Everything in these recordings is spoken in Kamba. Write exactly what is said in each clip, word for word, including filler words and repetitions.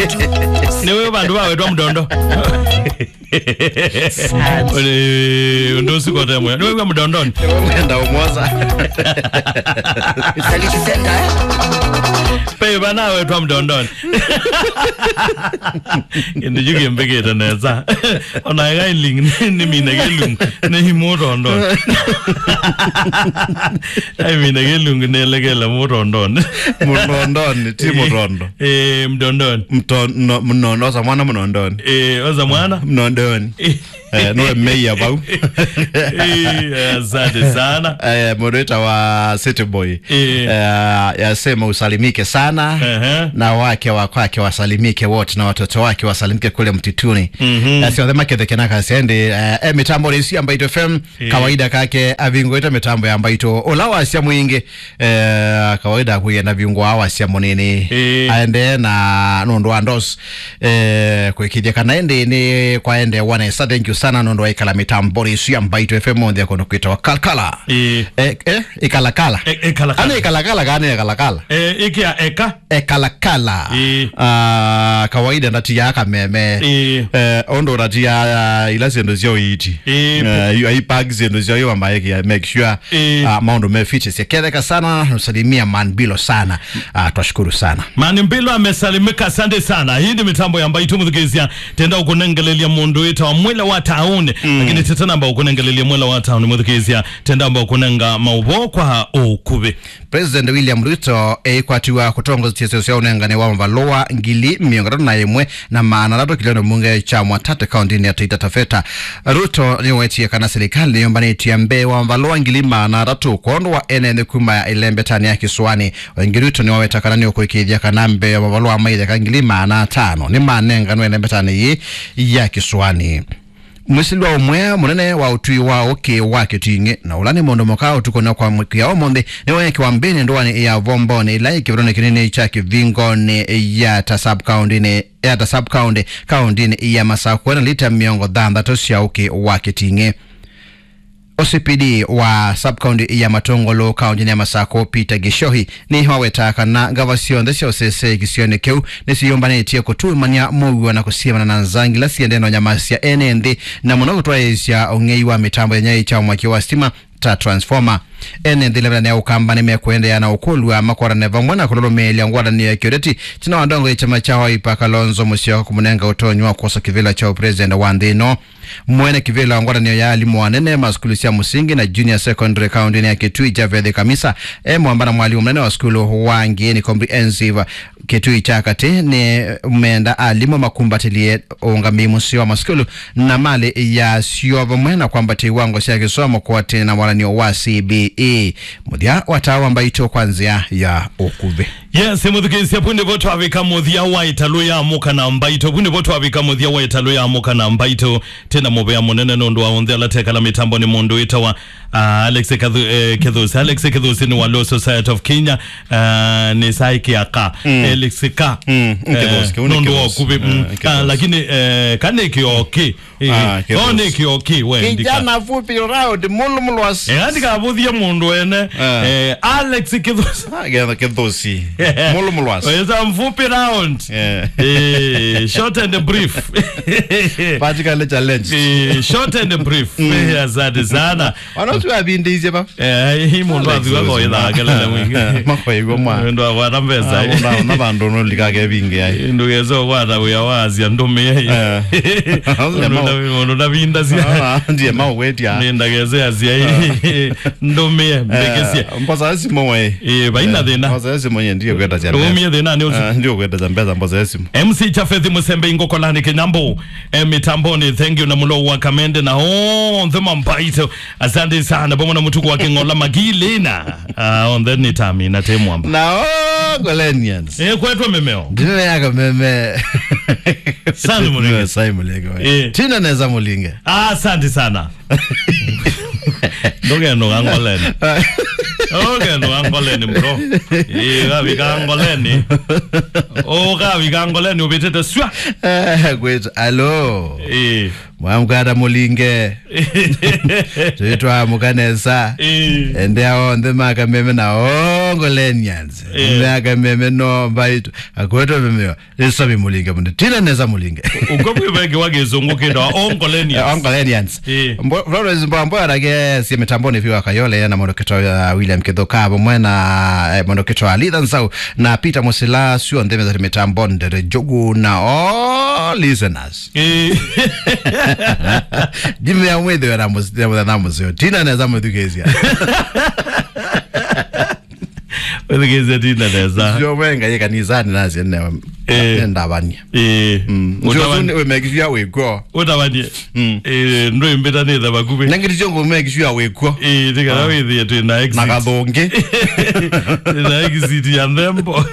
Nĩwe vandũ vawetwa Mdondo. Ũndũ ũsu kote mwĩa. Nĩwe wĩ Mdondoni. Nĩwe mwenda ũmwosa. Saliti Center, eh? Pe vana wetwa Mdondoni. Kĩndũ kĩu kĩmbĩkĩte nesa. Ona ĩga iling nĩmine kĩlungu, nĩ mũtondoni. Ai, mine kĩlungu nĩelekele mũtondoni. Mũtondoni, ti mũtondo. Eh, Mdondoni. Mto-, no, mno-, nosa mwana Mdondoni. Eh, osa mwana? Mdondoni. Eh. Eh, nĩwe meia vau. Eh, asante sana. Eh, mũndũ wĩtawa City Boy. Eh. Eh, yasema usalimike sana. Ehe. Na wake wa kwake wasalimike wote na watoto wake wasalimike kule mtituni. Mhm. Na sio thema ketheke na kasende, eh, eh, mitambo nĩ isi ya Mbaitũ F M. Eh. Kawaida kake avingũĩte mitambo ya Mbaitũ. Ũla wasya mwingĩ, eh, kawaida kũienda viungo wa wasya mũnini. Eh. Aendee na nũndũ wa ndos, eh, kwĩkĩthya kana ĩndĩ nĩ kwaendeewa nesa. Thank you sana nũndũ wa ikala mitambo nĩ isi ya Mbaitũ F M monthe kono kwĩtawa Kalkala. Eh. Eh, eh, ikalakala. Eh, eh, kalakala. Ana ikalakala kana ikalakala. Eh, ikia eka. Ekalakala. Ĩĩ. Ah, kawaida ndatiaa kameme. Ĩĩ. Eh, ũndũ ndatiaa, ah, ila syĩndũ sya ũiiti. Ĩĩ. Eh, yu-, aipack syĩndũ sya yu ambaye kia make sure, ĩĩ, ah, maũndũ me fit. Sieketheka sana, usalimia Man Bilo sana. Ah, twashukuru sana. Man Bilo amesalimika, asante sana. Hii ni mitambo ya Mbaitũ mũthikĩĩsya. Tenda ũkũnengelelia mũndũ wĩtawa Mwela wa Taũni. Mm. Lakini tete namba ũkũnengelelia Mwela wa Taũni mũthikĩĩsya. Tenda amba ũkũnenga maũvoo kwa ũkuvĩ. President William Ruto eikwatiwa kũtongoesya syo sya ũnengani wa mavalũa ngili mĩongo ĩtatũ na ĩmwe na maana atatũ kĩlĩonĩ mbunge kya Mwatate kaũntĩnĩ ya Taita Taveta. Ruto nĩwetie kana silikalĩ nĩyũmbanĩtye mbee wa mavalũa ngili maana atatũ kwondũ wa ene nthĩ kuma ĩlembetanĩ ya kĩsũanĩ. Waingĩ Ruto nĩwaweta kana nĩũkũĩkĩĩthya kana mbee wa mavalũa ma itheka ngili maana atano nĩmanenganwe ĩlembetanĩ yĩĩ ya kĩsũanĩ. Mwĩsĩlwa ũmwe mũnene wa ũtwi wa ũkĩ wa Kĩting'ĩ, na ũla nĩ mũndũ mũka ũtukũna kwa mũkĩa ũmũnthĩ, nĩweekĩwa mbĩnĩ ndũanĩ ya Vomboni, ĩla ĩ kĩvĩtonĩ kĩnini kya Kĩvingonĩ ya ta sub-county-nĩ, ya ta sub-county, kaũntĩnĩ ya Masakũ, na lita mĩongo thanthatũ sya ũkĩ wa Kĩting'ĩ. O C P D wa sub-county ya Matũngũlũ, kaũntĩnĩ ya Masakũ, Peter Gĩchohi, nĩwaweta kana ngava syonthe sya ũsese kĩsionĩ kĩu nĩsiyũmbanĩtye kũtuumany'a mũuo na kũsiemana na nzangila siendee na ũnyamasya ene nthĩ, na mũno kũtwaĩĩsya ũng'ei wa mĩtambo ya nyaĩ kya mwaki wa sitima ta transformer. Ene nthĩ ĩla ĩneena ya Ũkamba nĩmekũendeea na ũkũlw'a makwatanĩe vamwe na kũlũlũmĩĩlya ngwatanĩo ya kĩũteti ĩtina wa ndongoi ya kyama kya Wiper Kalonzo Musyoka kũmũnenga ũtonyi wa kwosa kĩvĩla kya ũpresident wa nthĩ ĩno. Mwene kĩvĩla wa ngwatanĩo ya alimũ anene ma sukulu sya mũsingi na junior secondary kaũntĩnĩ ya Kitui, Javeth Kamisa, e mwamba na mwalimũ mũnene wa sukulu wa Ngĩĩni Comprehensive Kitui kya katĩ, nĩmenda alimũ makumbatĩlye ũũngamĩi mũseo wa masukulu na malĩ yasyo, vamwe na kwambatya iwango sya kĩsomo kũatĩĩna na walan'yo wa C B E. Mũthya wa taa wa Mbaitũ kwa nzĩa ya ũkuvĩ. Yes, mũthikĩĩsya, vu nĩvo twavika mũthya wa ĩtalũ ya Amũka na Mbaitũ. Vu nĩvo twavika mũthya wa ĩtalũ ya Amũka na Mbaitũ. Tena mũvea mũnene nũndũ wa onthe ala tekala mĩtambo nĩ mũndũ wĩtawa, ah, Alex Kathu-, eh, Kithusi. Alex Kithusi nĩ wa Law Society of Kenya. Ah, nĩ saĩ kĩaka. Mm. Alex ka. Mm, eh, Kithusi, kĩu nĩ nũndũ wa Kithusi. Ũkuvĩ. Mm. Eh, Kithusi. Ah, lakini, eh, kanĩ kĩoki. Eh, ah, no Kithusi. Nĩ kĩoki, we, ndika. Kijana fupi round, mulumulwas. Eh, andikavũthie mũndũ ene. Ah. Eh, Alex Kithusi. Ah, Kithusi. Mulumulwas. Weza mfupi round. Yeah. Eh, short and brief. Vertically challenged. Eh, short and brief. Mm. Eh, asante sana. Wanaotu wavindĩisye va? Eh, hii mũndũ athiwa kwa ithaa kelele mwingĩ. Makoigwa mwa. Mũndũ akwata mbesa. Ah, mũndũ aona vandũ no likake vingi ai. Ndũgese kwata wĩa wa asia ndũmĩe. Eh. Mũndũ ndavi-, mũndũ ndavindasya. Ah, ndiye mau wetia. Nĩ ndagese asia. Ah. Ndũmĩe, mbĩkĩsye. Eh, mbosa simu we. Eh, vaina thĩna. Mbosa simu nye ndiye kwenda cha mbesa. Umie thĩna nĩ ũsu. Ah, ndiye kwenda cha mbesa mbosa simu. M C Jafeth Mũsembe Ingũkolani Kĩnyambũ. Eh, mitamboni, thank you, na mũlo wa Kamende na onthe ma Mbaitũ. Asante sana. Vamwe na mũtuku wa Kĩng'ola Magilina. Ah, onthe nĩ tami na te mwamba. Na Ngolenians. Eh, kwetwa mĩmeo. Ndinene ya kameme. Sana mũlinge. Sai mũlinge we. Eh. Tina neza mũlinge. Ah, asante sana. Ndũkenũka Ngoleni. Ndũkenũka Ngoleni, bro. Ĩĩ, ũkavika Ngoleni. Ũkavika Ngoleni, ũvĩtĩte swa. Eh, kwĩtwa, alo. Ĩĩ. Mwamkata mũlinge. Twĩtwa mũkanesa. Eh. Ende onthe ma Kameme na Ongolenians. Eh. Ende a Kameme no mbaitũ. Akwetwe Vimeo. Ĩsavi mũlinge mũno. Tina nesa mũlinge. Ũkwĩw'e kĩwa kĩsũngũ kĩtawa Ongolenians. Eh, Ongolenians. Eh. Mbo-, Florence Mbwambo arake sie mitamboni vyũ wa Kayole na mũndũ kĩtawa William Kithuka vamwe na, eh, mũndũ kĩtawa Litha Nsau na Peter Musila, syonthe methari mitamboni, Ndere Njogu na all listeners. Eh. Ndimea mwĩthĩwe na mũs-, na mũthenya mũseo. Tina nesa mũthukĩĩsya. Wĩthukĩĩsya Tina nesa. Sio wenga ye kanisani nasi ne, eh, ne ndavania. Eh. Mm. Ndio ũtavani-, suni we make sure wĩkw'o. Ũtavanie. Mm. Eh, ndwĩmbĩta nĩ tha vakuvĩ. Na ngĩti sio make sure wĩkw'o. Eh, tika, ah, wĩthĩe twĩ na exit. Na kathũngĩ. Twĩ na exit ya nthembo.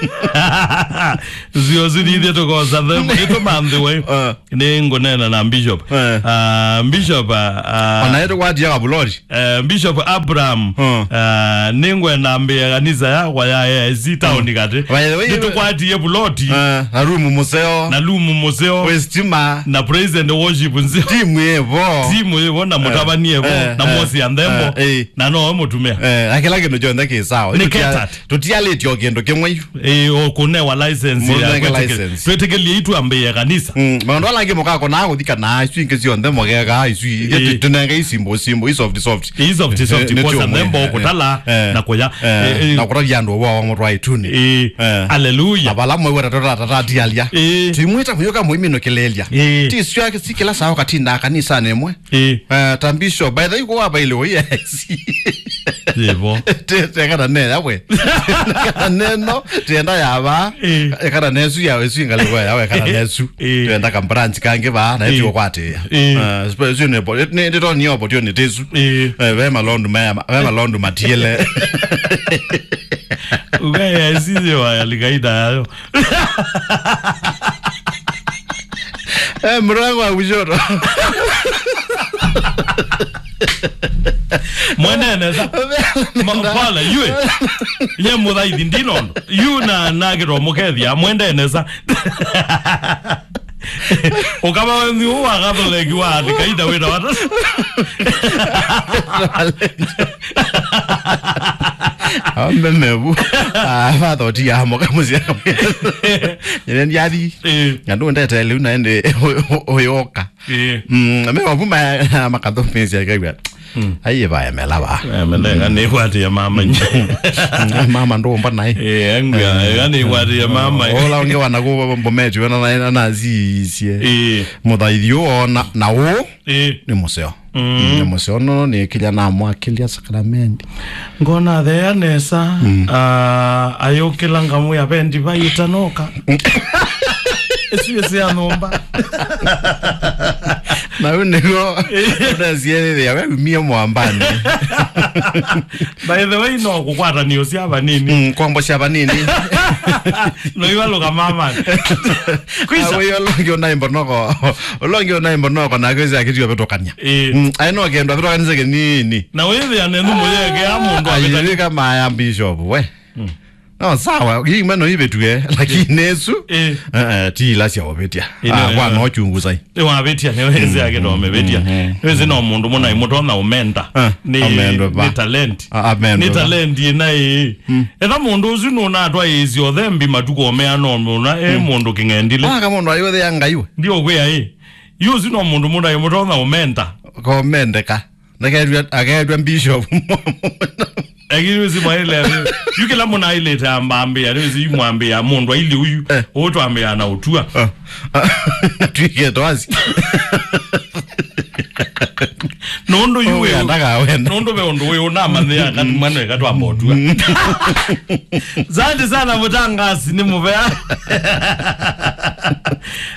Sio suni ithe tũkosa nthembo. Ĩtũmanthĩwe. Ah. Nĩ ngũneena na Bishop. Eh. Ah, Bishop, ah, ah, ona yetu kwatia kabulori. Eh, Bishop Abraham, hmm, ah, nĩngwenda mbĩe kanisa yakwa ya A I C town, hmm, katĩ. By the way, nĩtũkwatie puloti. Eh, na room mũseo. Na room mũseo. Wĩ stima. Na praise and worship nzeo. Timu ĩvo. Timu ĩvo na, eh, mũtavanie vo, eh, na, eh, mosi ya nthembo. Eh, eh. Na no mũtumĩa. Eh, na kĩla kĩndũ kyonthe kĩ sawa. Nĩ catered. Tũtialĩtye o kĩndũ kĩmwe yu. Ĩĩ, ũkũnewa license ya mũnenge kwĩtĩkĩl-, license. Twĩtĩkĩlie itwambĩĩe kanisa. Mm, maũndũ ala angĩ mũkakonaa kũthikana isu ingĩ syonthe mũgekaa isu i-, ĩĩ, tũnenge isimbo, simbo, i soft, soft. I soft, soft, eh, nĩ kwosa nthembo, eh, kũtala, eh, na kũya. Eh, eh, eh, na kũtavya andũ ũvoo wa mũtwaĩtuni. Ĩĩ. Eh. Hallelujah. Na vala mwe weta tũtatatialya. Ĩĩ. Tuimwĩta mũyũka mũiminũkĩlĩlya. Ĩĩ. Ti isu ake si kĩla saa ũkatindaa kanisanĩ ĩmwe. Ĩĩ. Eh, ta Bishop, by the way, kũwa vaile ũi A I C. Yĩvo. Te-, te kana ne yawe. Kana neno, tienda ya va. Ĩĩ. Kana nesu ya wesu ingaliko ya we kana nesu. Ĩĩ. Tienda ka branch kangi va, na ĩĩ, ĩtio kwatĩa. Ĩĩ. Eh, sio ne bo-, ne, ne, ne opportunity isu. Ĩĩ. Eh, ve malondu maya, ve malondu matiele. Uga ya sisi wa ya likaida yayo. Eh, mrango wa kushoto. Mwenene sa. Ma-, pala, yue. Nye mũthaithi ndinondo. Yu na, na kĩtomũkethia, mwenene sa. Ũkava wenzi ũũ wa Katholeki wa athikaida wĩta wata. Ambe mevu. Ah, father oti ya moka musia. Nyenye ndiathi. Eh. Ngandu ndete leo na ende oyoka. Eh. Mm, me wavu ma, makathumbĩsya kaiwa. Mm. Aiye vaya melava. Eh, mele, ngani kwati ya mama nje. Mama ndo mba nai. Eh, angwa, ngani kwati ya mama. Ola onge wana ko bometi wana na, na, na zisie. Eh. Mũthaithi ũũ ona na ũũ. Ĩĩ. Nĩ mũseo. Mm. Nĩ mũseo no nĩ kĩlya namwakĩlya sakramenti. Ngona athea nesa, mm, ah, ayũkĩla ngamwĩa ve ndivai ĩtanoka. Ĩsu ĩsĩ ya nyũmba. Na ũ nĩguo ũnasielethĩa we umie mwambanĩ. By the way, no kũkwatanio sya vanini. Mm, kwambo sya vanini. No ivalũka mama. Kwisa. Awe yo longi unaimba noko. Ũla ũngĩ ũnaĩ mbonoko nake ĩsĩ akĩtiwa vetũkania. Ĩĩ. Mm, aĩ no kĩndũ avĩtũkanĩsye kĩnini. Na wĩthĩa nĩ nthumũ yekea mũndũ avĩtania. Ayĩwĩka maya bishop, we. Mm. No, sawa, ii mano ivĩtue, lakini ĩsu, ĩĩ, eh, eh, ti ila sya ũvĩtya. Ĩĩ, ah, nĩ, kwa no chungu sai. Nĩ wavĩtya, nĩ wĩsĩ akĩtwa ũmĩvĩtya. Mm, mm. Nĩ wĩsĩ no mũndũ mũna imũtona ũmenda. Ah, nĩ, amendwe va? Nĩ talent. Ah, amendwe va? Nĩ talent ĩna ĩĩ. Mm. Etha mũndũ ũsu nũnatwa ĩsĩ othe mbi matukũ omea no mũna, e, mm, mũndũ kĩng'endile. Waka mũndũ ayũthĩa Ngai we. Ndio kwĩa ĩ. Yu ũsu no mũndũ mũndũ aĩ mũtonya ũmenda. Komendeka. Ndaketwa, aketwa bishop. Lakini ũsu mwaile. Yu kĩla mũndũ ailĩte ambambĩa, nĩ ũsu mwambĩa mũndũ aili ũyu. Eh. Ũtwambĩa na ũtua. Ah. Twike twasi. Nũndũ yu ũyũ we, ndakawenda. Nũndũ ve ũndũ we ũnamanyĩa kana mwana eka twamba ũtua. Asante sana mũtangasi, nĩ mũvea.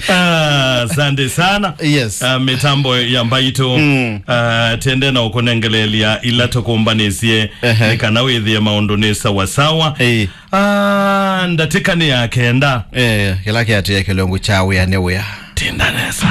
Ah, asante sana. Yes. Ah, mĩtambo ya mbaitũ. Mm. Ah, tende na ũkũnengelelia ila tũkũmbanĩsye. Ehe. Nĩ kana wĩthĩe maũndũ nĩ sawasawa. Ĩĩ. Ah, ndatĩka nĩ ya kenda. Eh, kĩla kĩatĩe kĩlungu kya wĩa nĩ wĩa. Tinda nesa.